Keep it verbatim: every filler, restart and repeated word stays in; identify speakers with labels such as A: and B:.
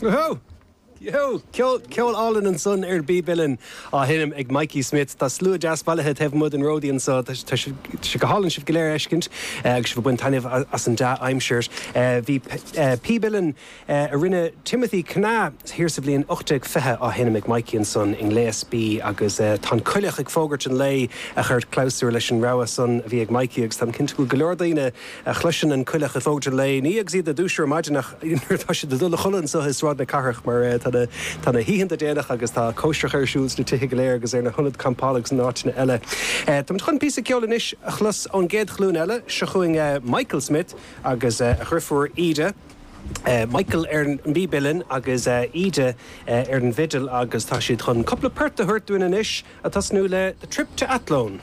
A: Oh! Yo, ceol álainn ansan ar an bpíb uilleann á sheinm ag Mikey Smith. Tá slua deas bailithe taobh amuigh den Ródaí anseo. Tá sé go hálainn sibh go léir a fheiscint agus sibh ag baint taitneamh as an dea-aimsir. Bhí píb uilleann a rinne Timothy Kenna thiar sa bhliain ocht déag fiche á sheinm ag Mikey ansan i ngléas B agus tá an coileach ag fógairt an lae a chuir clabhsúr leis an rogha san a bhí ag Mikey agus táim cinnte go bhfuil go leor daoine a chloiseann an coileach ag fógairt an lae, ní agus iad ag dúiseacht ar maidin ach nuair atá siad ag dul a chodladh anseo i Sráid na Cathrach mar tá na tá na hoícheanta déanach agus tá cóisreacha ar siúl sna tithe go léir agus ar na hionaid campála agus in áiteanna eile. Táimid chun píosa ceoil anois a chlos ón gcéad ghlúin eile, seo chugainn Michael Smith agus a dheirfiúr Íde. Michael ar an bpíb uilleann agus Íde ar an bhfidil agus tá siad chun cúpla port a thabhairt dúinn anois, ag tosnú le The Trip to Athlone.